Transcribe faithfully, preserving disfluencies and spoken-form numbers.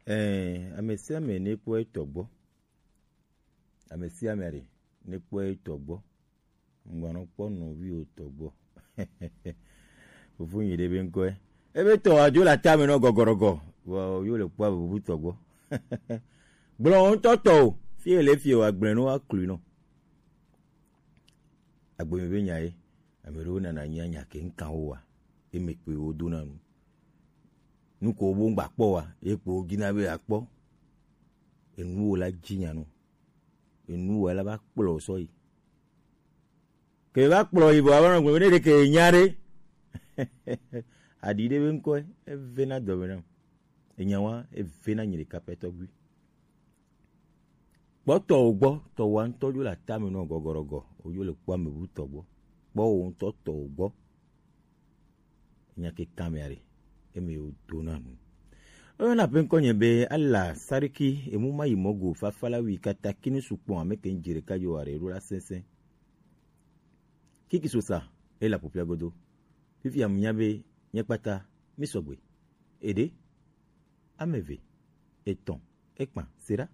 Ɛɛ, ame sia ame nekpɔ etɔ gbɔ. Ame sia ame aɖe nekpɔ etɔ gbɔ. Ŋgbanɔ kpɔ nɔvi wotɔ gbɔ. Fofo nyi ɖe be ŋkɔe. Ebe tɔ adzo le atame nɔ gɔgɔrɔgɔ. Vɔ yo le kpɔ bubu tɔ gbɔ. Gblɔ ŋutɔ tɔ o. Fie le fie wa gblẽ no aklui nɔ. Agbemi be nya ye. Ame ɖewo nana nya nya ke ŋkan wo wa. Eme kpe wo dona nu. Nu ko wo ŋgba kpɔ wa. Ye kpo wo dina be akpɔ. Enu wo la dzi nya nu. Enu wo la va kplɔ sɔ yi. Ke va kplɔ yi vɔ ava nɔ gblɔ be ne ɖeke nya ɖe. Aɖi ɖe be ŋkɔe, evena dɔme nam. Enya wa, evena nyi ɖeka pɛ tɔgbi. Kpɔ tɔwò gbɔ, tɔwò ŋutɔ dzo le atame nɔ gɔgɔrɔgɔ, wodzo le kpɔ ame bu tɔ gbɔ. Kpɔ wò ŋutɔ tɔwò gbɔ. Enya ke kan mea ɖe, eme wo do na nu. Oyɔna ƒe ŋkɔ nye be Ala Sariki, emu ma yi mɔ go, fafa la wi kata kini sukpɔn ame ke ŋdzi ɖeka yo are ɖo la sɛnsɛn. Kiki sosa, e la ƒoƒia godo. Fifia mu nya be nye kpata mi sɔgbe. Eɖe, ame eve, etɔ̃, ekpa, sera.